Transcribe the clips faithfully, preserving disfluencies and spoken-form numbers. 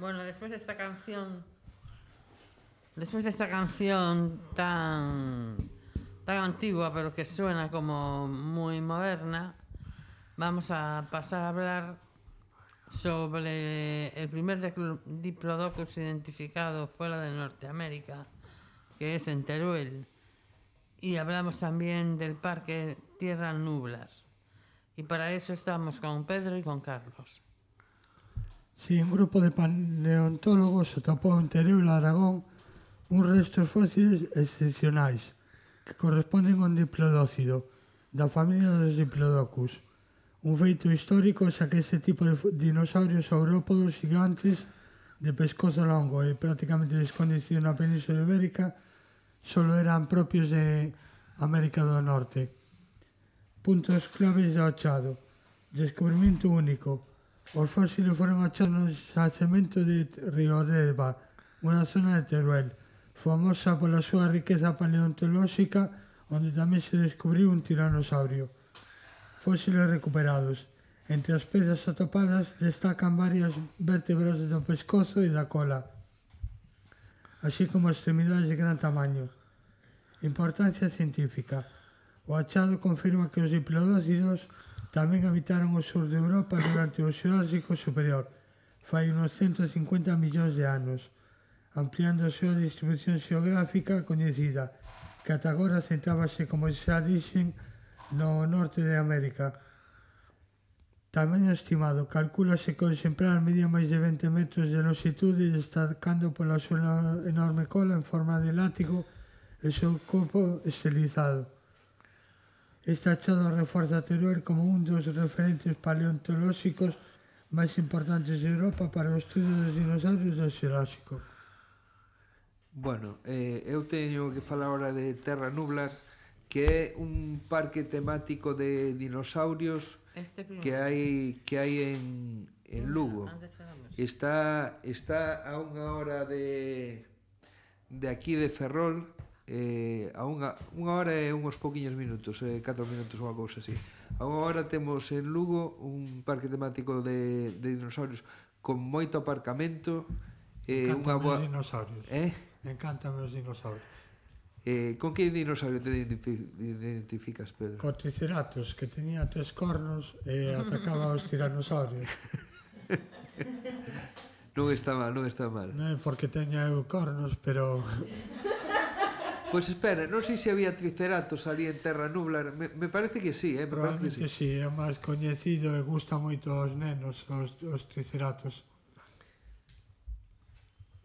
Bueno, después de esta canción, después de esta canción tan, tan antigua, pero que suena como muy moderna, vamos a pasar a hablar sobre el primer diplodocus identificado fuera de Norteamérica, que es en Teruel. Y hablamos también del Parque Tierra Nublar. Y para eso estamos con Pedro y con Carlos. Sí, un grupo de paleontólogos atopou en Teruel, Aragón, uns restos fósiles excepcionais que corresponden a un diplodócido da familia dos diplodocus. Un feito histórico xa que este tipo de dinosaurios saurópodos gigantes de pescozo longo e prácticamente desconhecido na Península Ibérica solo eran propios de América do Norte. Puntos claves do achado. Descubrimento único. Os fósiles foron achados no xacemento de Riodeva, unha zona de Teruel, famosa pola súa riqueza paleontolóxica, onde tamén se descubriu un tiranosaurio. Fósiles recuperados. Entre as pezas atopadas destacan varias vértebras do pescozo e da cola, así como extremidades de gran tamaño. Importancia científica. O achado confirma que os diplodócidos tamén habitaron o sur de Europa durante o Xurásico superior, fai unos ciento cincuenta millóns de anos, ampliando a súa distribución xeográfica coñecida, que ata agora centrábase, como xa dixen, no norte de América. Tamén estimado, calcúlase que o exemplar medía máis de vinte metros de longitude, destacando pola súa enorme cola en forma de látigo e o seu corpo estilizado. Este achado reforza Teruel como un dos referentes paleontolóxicos máis importantes de Europa para o estudo dos dinosaurios do Xurásico. Bueno, eh, eu teño que falar ahora de Terra Nublar, que é un parque temático de dinosaurios este que hai que hai en, en Lugo. Está, está a unha hora de, de aquí de Ferrol, eh, a unha, unha hora e uns pouquiños minutos, eh, catro minutos, unha cousa así. A unha hora temos en Lugo un parque temático de, de dinosaurios con moito aparcamento. Eh, Encántame boa... os dinosaurios. Eh? Encántame os dinosaurios. Eh, con que dinosaurio te identificas, Pedro? Co Triceratops, que tenía tres cornos e atacaba aos tiranosaurios. Non está mal, non está mal. Non é porque teña eu cornos, pero... Pois pues espera, non sei se había Triceratops ali en Terra Nublar. Me, me parece que sí, eh? Me Probablemente que sí. sí, é máis coñecido e gusta moito aos nenos, os, os Triceratops.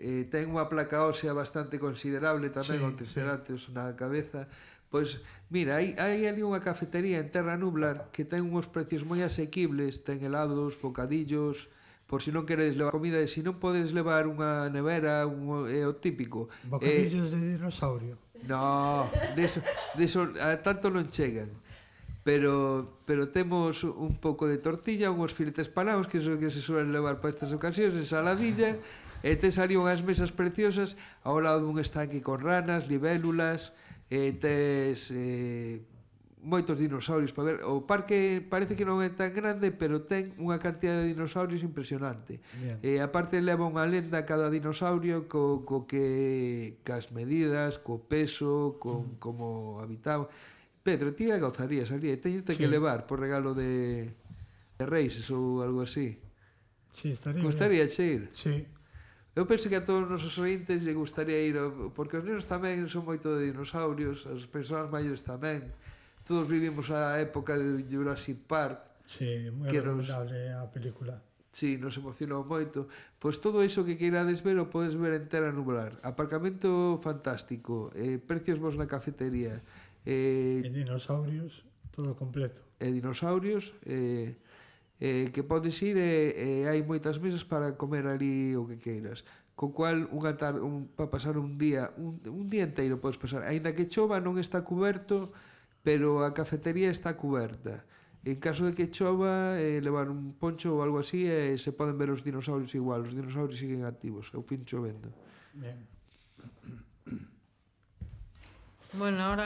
Eh, ten unha placa ósea bastante considerable tamén, sí, o Triceratops sí. Na cabeza. Pois, mira, hai, hai ali unha cafetería en Terra Nublar que ten uns precios moi asequibles, ten helados, bocadillos, por si non queres levar comida, e se non podes levar unha nevera, un, é o típico. Bocadillos eh, de dinosaurio. No, deso, deso a tanto non chegan. Pero, pero temos un pouco de tortilla, unhos filetes panados, que é o que se suelen levar para estas ocasións, ensaladilla, e tes ali unhas mesas preciosas ao lado dun estanque con ranas, libélulas, e tes eh, moitos dinosaurios para ver. O parque parece que non é tan grande, pero ten unha cantidad de dinosaurios impresionante. E aparte leva unha lenda cada dinosaurio co, co que cas medidas, co peso, con mm. como habitaba. Pedro, ti a gozarías ali, teñete sí. que levar por regalo de, de Reis ou algo así. Sí, estaría Gustaría ir? Sí. Eu penso que a todos os nosos ointes lle gustaría ir, porque os nenos tamén son moito de dinosaurios, as persoas maiores tamén. Todos vivimos a época de Jurassic Park. Sí, moi recomendable a película. Sí, nos emocionou moito. Pois todo iso que queirades ver o podes ver en Terra Nublar. Aparcamento fantástico, eh, precios vos na cafetería. Eh, e dinosaurios, todo completo. E dinosaurios, eh, eh, que podes ir e eh, hai moitas mesas para comer ali o que queiras. Co cual, unha tarde, un, para pasar un día, un, un día inteiro podes pasar. Ainda que chova non está cuberto, pero a cafetería está cuberta. En caso de que chova, eh, levar un poncho ou algo así, e eh, se poden ver os dinosaurios igual. Os dinosaurios siguen activos, ao fin chovendo. Bien. Bueno, ahora